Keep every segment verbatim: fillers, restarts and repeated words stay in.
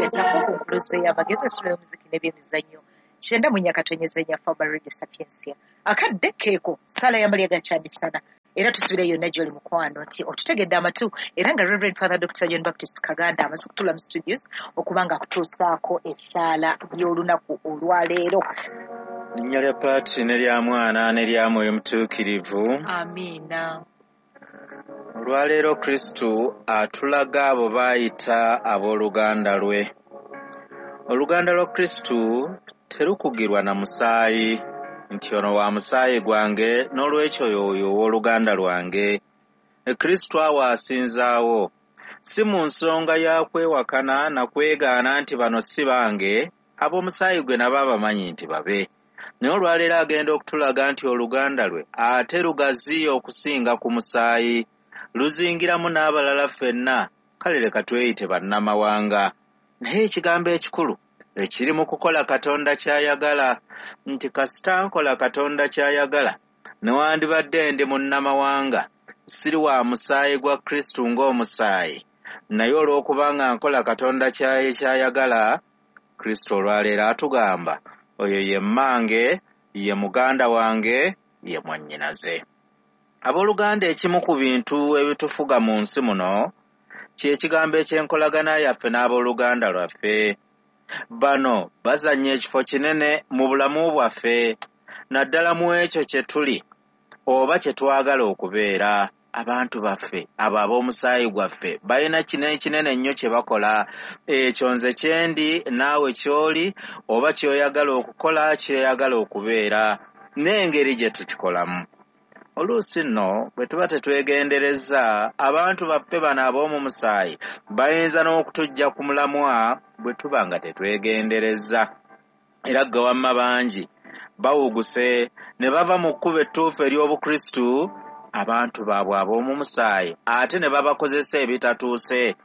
Center ku nkuluze y'amagezi, essula y'omuziki n'ebyemizannyo. Kyenda mu nnya katonyeza nnya Faba Radio Sapientia. Akadde keeko ssaala y'amalya ga kyamisana. Era tusubira yonna gy'oli mukwano nti otutegedde amatu, era nga Reverend Father Doctor John Baptist Kaganda amaze okutuula mu studios okuba nga akutuusaako essaala y'olunaku olwaleero. Linnya lya Paati ne lya Mwana ne lya Mwoyo Mutuukirivu. Amiina. Olwaleero Kristu atulaga abo baayita abooluganda lwe. Oluganda lwa Kristu terukugirwa na musaayi nti ono wa musaayi gwange n'olwekyo y'oyo ow'oluganda lwange. Kristu awo asinzaawo si mu nsonga ya kwewakana na kwegaana nti bano si bange, ab'omusaayi gwe nabo abamanyi nti babe. Naye olwaleero agenda okutulaga nti oluganda lwe ate lugaziya okusinga ku musaayi, luzingiramu n'abalala ffenna, kale leka tweyite bannamawanga. Naye ekigambo ekikulu ekiri mu kukola Katonda ky'ayagala, nti kasita nkola Katonda ky'ayagala, newandibadde ndi munnamawanga, siri wa musaayi gwa Kristu ng'omusaayi, naye olw'okubanga nkola Katonda ky'ayagala, Kristu olwaleero atugamba oyo ye mmange, ye muganda wange, ye mwannyinaze. Abooluganda, ekimu ku bintu ebitufuga mu nsi muno kye kigambo eky'enkolagana yaffe n'abooluganda lwaffe. Bano bazannya ekifo kinene mu bulamu bwaffe, naddala mu ekyo kye tuli oba kye twagala okubeera. Abantu baffe abo ab'omusaayi gwaffe balina kinene kinene nnyo kye bakola. Ekyo nze kye ndi, naawe ky'oli, oba ky'oyagala okukola, ky'oyagala okubeera, n'engeri gye tukikolamu. Oluusi nno bwe tuba tetwegendereza, abantu baffe bano ab'omu musaayi bayinza n'okutuggya ku mulamwa bwe tuba nga tetwegendereza. Era gwe wamma bangi bawuguse ne bava mu kkubo ettuufu ery'Obukristu, abantu baabwe ab'omu musaayi ate ne babakozesa ebitatuuse.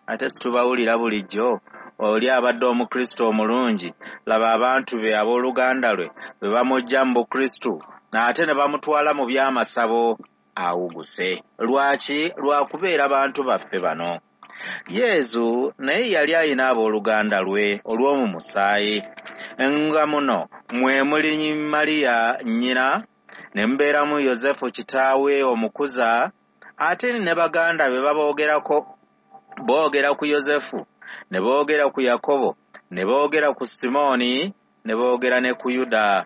Ate situbawulira bulijjo, oli abadde Omukristu omulungi, laba abantu be abooluganda lwe bwe bamuggya mu Bukristu ate ne bamutwala mu by'amasabo, awuguse. Lwaki? Lwakubeera bantu baffe bano. Yezu naye yali alina abooluganda lwe olw'omu musaayi, nga muno mwe muli Mariya nnyina, ne mubeeramu Yosefu kitaawe omukuza, ate ne baganda be baboogerako. Boogera ku Yosefu, ne boogera ku Yakobo, ne boogera ku Simooni, ne boogera ne ku Yuda.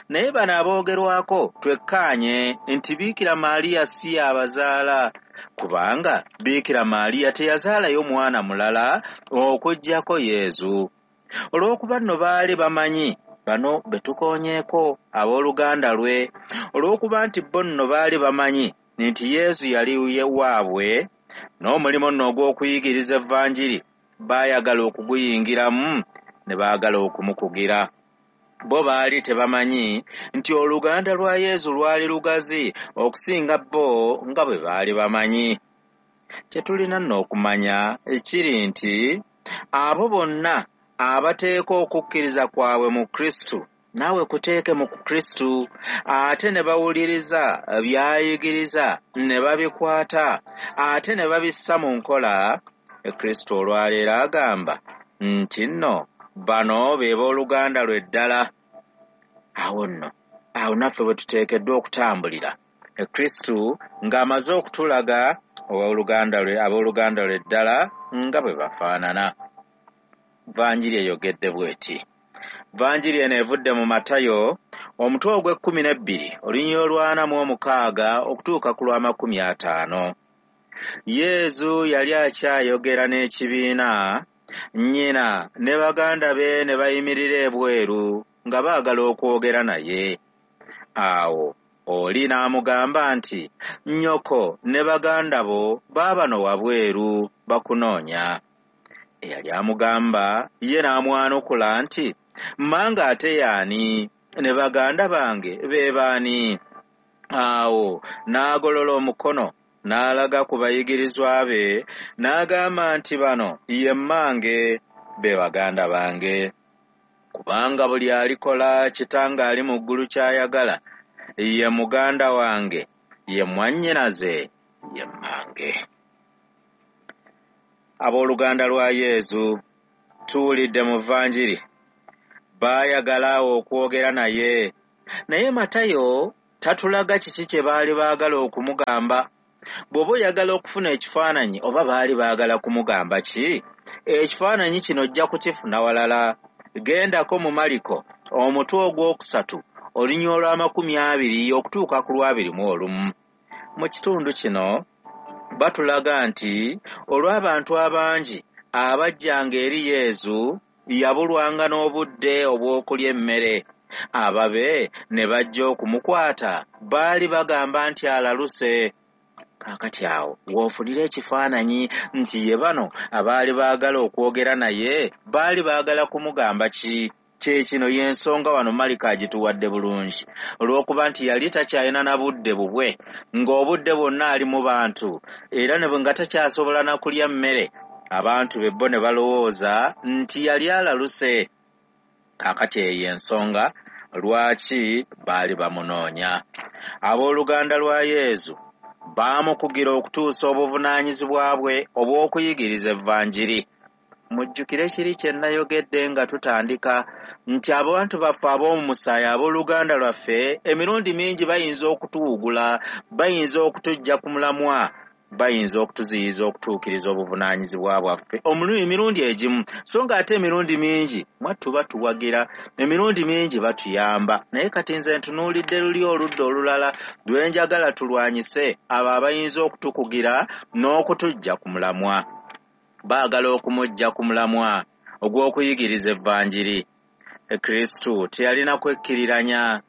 Naye bano aboogerwako twekkaanye nti Biikira Maaliya si y'abazaala, kubanga Biikira Maaliya teyazaalayo mwana mulala okuggyako Yezu. Olw'okuba nno baali bamanyi bano be tukoonyeeko abooluganda lwe, olw'okuba nti bo nno baali bamanyi nti Yezu yali waabwe, n'omulimu nno ogw'okuyigiriza Evanjiri baayagala okuguyingiramu ne baagala okumukugira. Bo baali tebamanyi nti oluganda lwa Yezu lwali lugazi okusinga bo nga bwe baali bamanyi. Kye tulina nno okumanya kiri nti abo bonna abateeka okukkiriza kwabwe mu Kristu, naawe kuteeke mu Kristu, ate ne bawuliriza by'ayigiriza ne babikwata ate ne babissa mu nkola, Kristu olwaleero agamba nti nno bano be booluganda lwe ddala. Awo nno awo naffe bwe tuteekeddwa okutambulira. Kristu ng'amaze okutulaga abooluganda lwe abooluganda lwe ddala nga bwe bafaanana. Vanjiri eyogedde bw'eti. Vanjiri eno evudde mu Matayo omutwe ogw'ekkumi n'ebbiri olunyiriri olw'ana mu omukaaga okutuuka ku lw'amakumi ataano. Yezu yali akyayogera n'ekibiina, nnyina ne baganda be ne bayimirira ebweru nga baagala okwogera naye. Awo oli n'amugamba nti, nnyoko ne baganda bo baabano wabweru bakunoonya. Eyali amugamba ye n'amwanukula nti, mmange ate y'ani, ne baganda bange be baani? Awo n'agolola omukono n'alaga ku bayigirizwa be n'agamba nti bano ye mmange be baganda bange. Kubanga buli alikola kitange ali mu ggulu ky'ayagala ye muganda wange, ye mwannyinaze, ye mmange. Abooluganda lwa Yezu Tuwulidde mu Vanjiri baayagala awo okwogera naye, naye Matayo tatulaga kiki kye baali baagala okumugamba. Bw'oba oyagala okufuna ekifaananyi oba baali baagala kumugamba ki, ekifaananyi kino ojja kukifuna walala. Gendako mu Maliko omutwe ogwokusatu olunyiriri olw'amakumi abiri okutuuka ku lwabiri mu olumu. Mu kitundu kino batulaga nti olw'abantu abangi abajjanga eri Yezu yabulwanga n'obudde obw'okulya emmere. Ababe ne bajja okumukwata baali bagamba nti alaluse. Kaakati awo w'ofunira ekifaananyi nti ye bano abaali baagala okwogera naye baali baagala kumugamba ki. Kye kino y'ensonga wano Maliko agituwadde bulungi, olw'okuba nti yali takyalina na budde bubwe, ng'obudde bwonna ali mu bantu era ne nga takyasobola na kulya mmere. Abantu be bo ne balowooza nti yali alaluse. Kaakati eyo ensonga lwaki baali bamunoonya. Abooluganda lwa Yezu baamukugira okutuusa obuvunaanyizibwa bwe obw'okuyigiriza Evanjiri. Mujjukire kiri kye nnayogedde nga tutandika nti abantu baffe ab'omu musaayi, abooluganda lwaffe, emirundi mingi bayinza okutuwugula, bayinza okutuggya ku mulamwa, bayinza okutuziyiza okutuukiriza obuvunaanyizibwa bwaffe emirundi egimu, so ng'ate emirundi mingi mwattu batuwagira, emirundi mingi batuyamba. Naye kati nze ntunuulidde luli oludda olulala lwe njagala tulwanyise abo abayinza okutukugira n'okutuggya ku mulamwa. Baagala okumuggya ku mulamwa ogw'okuyigiriza Evanjiri. Kristo teyalina kwekkiriranya,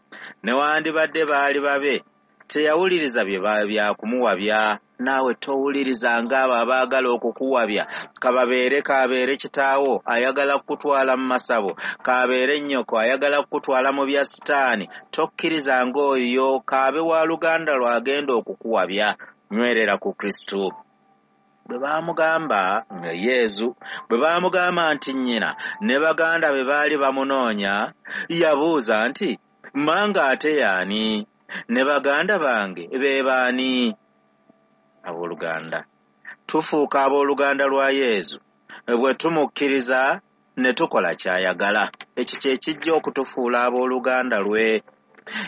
newandibadde baali babe teyawuliriza bye byakumuwabya. Naawe towulirizanga abo abaagala okukuwabya, kababeere kabeere kitaawo ayagala kukutwala mu masabo, kabeere nnyoko ayagala kukutwala mu bya sitaani. Tokkirizanga oyo kaabe wa luganda lw'agenda okukuwabya. Nywerera ku Kristo. Bwe baamugamba nga Yezu bwe baamugamba nti nnyina ne baganda be baali bamunoonya, yabuuza nti mmange ate y'ani? Ne baganda bange be baani? Abooluganda, tufuuka abooluganda lwa Yezu bwe tumukkiriza ne tukola ky'ayagala. Ekyo kye kijja okutufuula abooluganda lwe.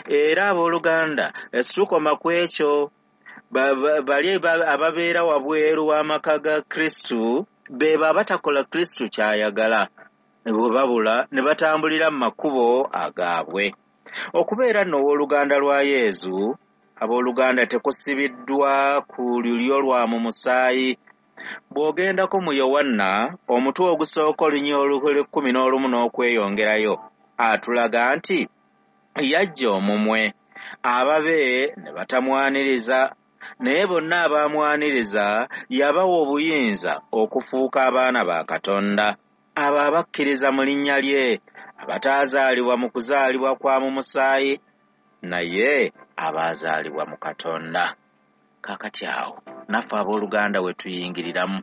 Era abooluganda situkoma ku ekyo, bali ababeera wabweru w'amaka ga Kristo be abatakola Kristo ky'ayagala, bwe babula ne batambulira mu makubo agaabwe. Okubeera nno owooluganda lwa Yezu, abooluganda, tekusibiddwa ku lulyo lwa mu musaayi. Bw'ogendako mu Yowanna omutwe ogusooka olunyiriri olw'ekkumi n'olumu n'okweyongerayo, atulaga nti yajja omumwe, ababe ne batamwaniriza, naye bonna abaamwaniriza yabawa obuyinza okufuuka abaana ba Katonda, abo abakkiriza mu linnya lye, abataazaalibwa mu kuzaalibwa kwa mu musaayi, naye abaazaalibwa mu Katonda. Kaakati awo naffe abooluganda we tuyingiriramu,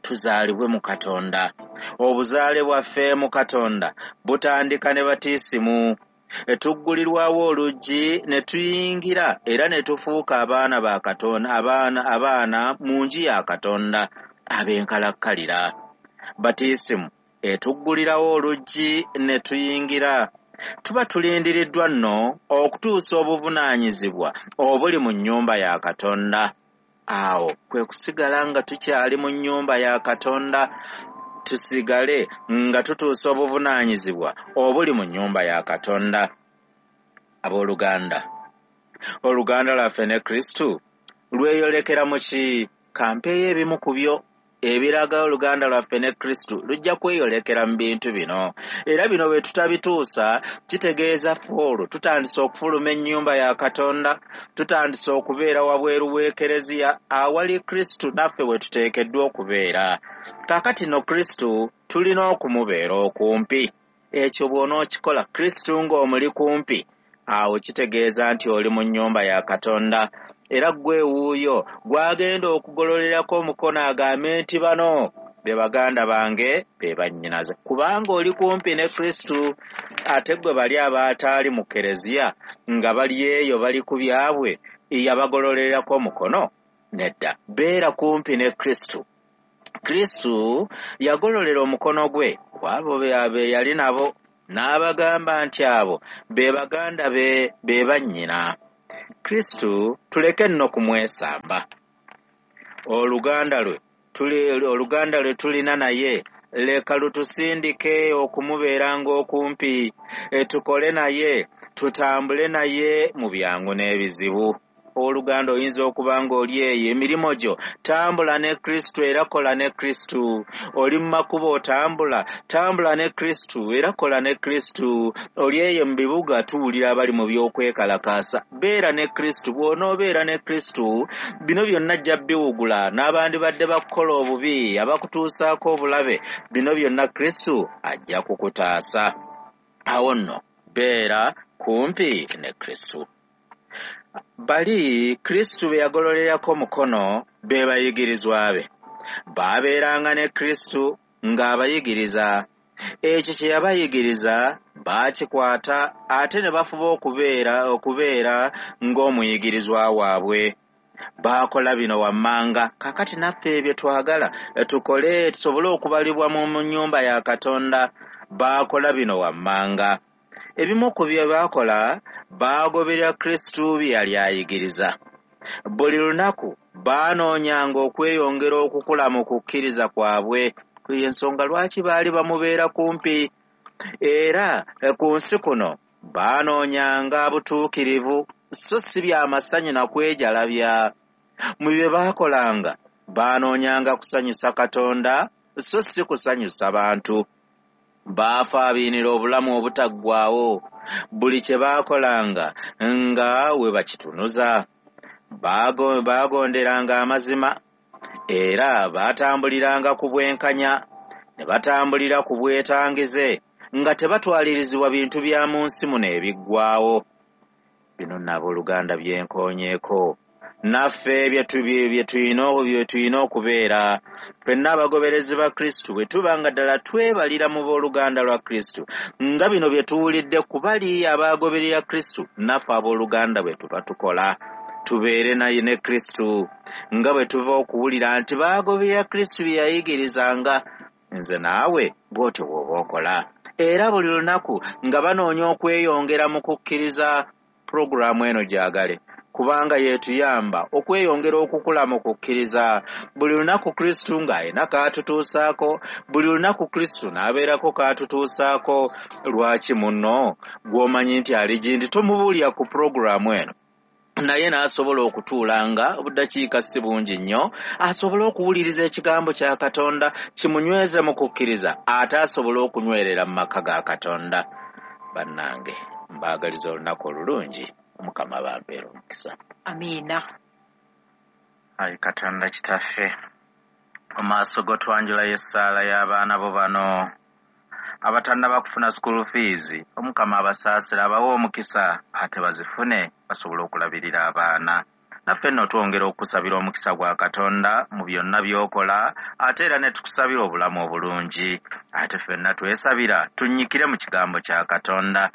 tuzaalibwe mu Katonda. Obuzaale bwaffe mu Katonda butandika ne batiisimu. Tuggulirwawo oluggi ne tuyingira era ne tufuuka abaana ba Katonda, abaana abaana mu nju ya Katonda ab'enkalakkalira. Batiisimu etuggulirawo oluggi ne tuyingira. Tuba tulindiriddwa nno okutuusa obuvunaanyizibwa obuli mu nnyumba ya Katonda. Awo kwe kusigala nga tukyali mu nnyumba ya Katonda, tusigale nga tutuusa obuvunaanyizibwa obuli mu nnyumba ya Katonda. Abooluganda, oluganda lwaffe ne Kristo lweyolekera mu ki? Kampeeyo ebimu ku byo ebiraga oluganda lwaffe ne Kristo lujja kweyolekera mu bintu bino. Era bino bwe tutabituusa kitegeeza ffe olwo tutandise okufuluma ennyumba ya Katonda, tutandise okubeera wabweru w'ekereziya awali Kristo naffe we tuteekeddwa okubeera. Kaakati no Kristo tulina okumubeera okumpi. Ekyo bw'onookikola Kristo ng'omuli kumpi, awo kitegeeza nti oli mu nnyumba ya Katonda. Era ggwe wuuyo gw'agenda okugololerako omukono agambe nti bano be baganda bange be bannyinaze, kubanga oli kumpi ne Kristo. Ate ggwe bali abataali mu kereziya nga bali eyo bali ku byabwe, yabagololerako omukono? Nedda, beera kumpi ne Kristo. Kristo yagololera omukono gwe ku abo be yali nabo n'abagamba nti abo be baganda be be bannyina. Kristo tuleke nno kumwesamba. Oluganda lwe tuli oluganda lwe tulina naye leka lutusindike okumubeeranga okumpi, tukole naye, tutambule naye mu byangu n'ebizibu. Oluganda oyinza okuba ng'oli eyo emirimu gyo, tambula ne Kristo era kola ne Kristo. Oli mu makubo otambula, tambula ne Kristo era kola ne Kristo. Oli eyo mu bibuga tuwulira abali mu by'okwekalakaasa, beera ne Kristo. Bw'onoobeera ne Kristo bino byonna ajja biwugula, n'abandibadde bakukola obubi, abakutuusaako obulabe, bino byonna Kristo ajja kukutaasa. Awo nno beera kumpi ne Kristo. Bali Kristo be yagololerako omukono be bayigirizwa be. Baabeeranga ne Kristo ng'abayigiriza. Ekyo kye yabayigiriza baakikwata ate ne bafuba okubeera okubeera ng'omuyigirizwa waabwe. Baakola bino wammanga. Kaakati naffe ebyo twagala tukole tusobole okubalibwa mu nnyumba ya Katonda. Baakola bino wammanga. Ebimu ku bye baakola, baagoberera Kristo bye yali ayigiriza. Buli lunaku baanoonyanga okweyongera okukula mu kukkiriza kwabwe. Ensonga lwaki baali bamubeera kumpi. Era ku nsi kuno baanoonyanga butuukirivu, so si bya masanyu na kwejalabya. Mu bye baakolanga baanoonyanga kusanyusa Katonda, so si kusanyusa bantu. Baafaabiinira obulamu obutaggwaawo. Buli kye baakolanga nga we bakitunuza. Baagonderanga amazima era baatambuliranga ku bwenkanya, ne batambulira ku bwetangize nga tebatwalirizibwa bintu bya mu nsi muno ebiggwaawo. Bino nno abooluganda bye nkoonyeeko. Naffe bye tulina okubeera ffenna abagoberezi ba Kristo bwe tuba nga ddala twebalira mu booluganda lwa Kristo, nga bino bye tuwulidde ku bali abaagoberera Kristo, naffe abooluganda bwe tuba tukola tubeere naye ne Kristo, nga bwe tuva okuwulira nti baagoberera Kristo bye yayigirizanga. Nze naawe bw'otyo bw'oba okola. Era buli lunaku nga banoonya okweyongera mu kukkiriza. Pulogulaamu eno gyagale, kubanga yeetuyamba okweyongera okukula mu kukkiriza. Buli lunaku Kristo ng'alina k'atutuusaako, buli lunaku Kristo n'abeerako k'atutuusaako. Lwaki munno gw'omanyi nti ali gindi tomubuulira ku pulogulaamu eno, naye n'asobola okutuulanga obuddakiika si bungi nnyo, asobole okuwuliriza ekigambo kya Katonda kimunyweze mu kukkiriza, ate asobole okunywerera mu maka ga Katonda. Bannange, mbaagaliza olunaku olulungi. Omukama bampeera omukisa. Amiina. Ayi Katonda Kitaffe, mu maaso go twanjulayo essaala y'abaana bo bano abatannaba kufuna school fees. Omukama abasaasira, abawe omukisa ate bazifune basobole okulabirira abaana. Naffe nno twongera okusabira omukisa gwa Katonda mu byonna by'okola, ate era ne tukusabira obulamu obulungi. Ate ffenna twesabira tunnyikire mu kigambo kya Katonda.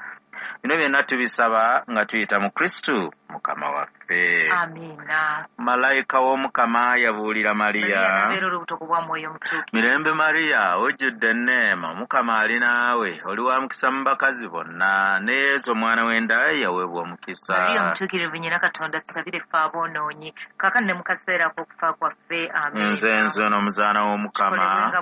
Bino byonna tubisaba nga tuyita mu Kristo Mukama waffe. Amiina. Malayika w'Omukama yabuulira Mariya. Mirembe Mariya, ojjudde enneema, Omukama ali naawe, oli wa mukisa mu bakazi bonna, ne Yesu omwana w'enda ye yaweebwa omukisa. Mariya omutuukirivu nnyina Katonda, tusabire ffe aboonoonyi, kaakano ne mu kaseera ak'okufa kwaffe. Amiina. Nze nze n'omuzaana w'Omukama.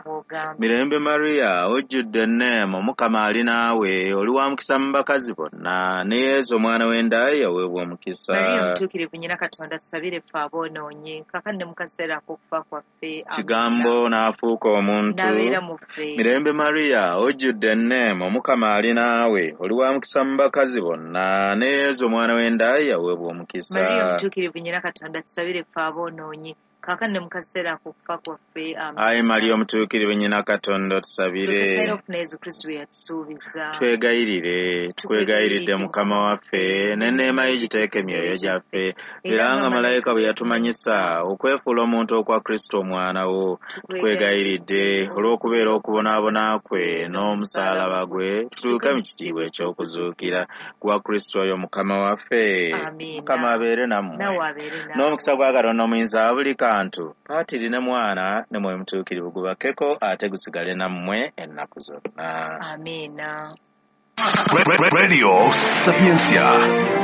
Mirembe Mariya, ojjudde enneema, Omukama ali naawe, oli wa mukisa mu bakazi bonna, ne Yesu omwana w'enda ye yaweebwa omukisa. Mariya omutuukirivu nnyina Katonda, tusabire ffe aboonoonyi, kaakano ne mu kaseera ak'okufa kwaffe. Kigambo n'afuuka omuntu. N'abeera mu ffe. Mirembe Mariya, ojjudde enneema, Omukama ali naawe, oli wa mukisa mu bakazi bonna, ne Yesu omwana w'enda ye yaweebwa omukisa. Mariya omutuukirivu nnyina Katonda, tusabire ffe aboonoonyi, kaakano ne mu kaseera ak'okufa kwaffe. Amiina. Ayi Mariya omutuukirivu nnyina Katonda, otusabire. Tukuseera okufuna Yesu Kristo bye yatusuubiza. Twegayirire, tukwegayiridde Mukama waffe, n'enneema ye giteeke emyoyo gyaffe, era nga malayika bwe yatumanyisa okwefuula omuntu okwa Kristo omwana wo, tukwegayiridde olw'okubeera okubonaabona kwe n'omusaalaba gwe, tutuuke mu kitiibwa eky'okuzuukira kwa Kristo oyo Mukama waffe. Amiina. Mukama abeere nammwe. Nawe abeere naawe. N'omukisa gwa Katonda omuyinza wa buli kantu bantu, Paatiri ne Mwana ne Mwoyo Mutuukirivu gubakeko ate gusigale nammwe ennaku zonna. Amiina. Radio Sapientia.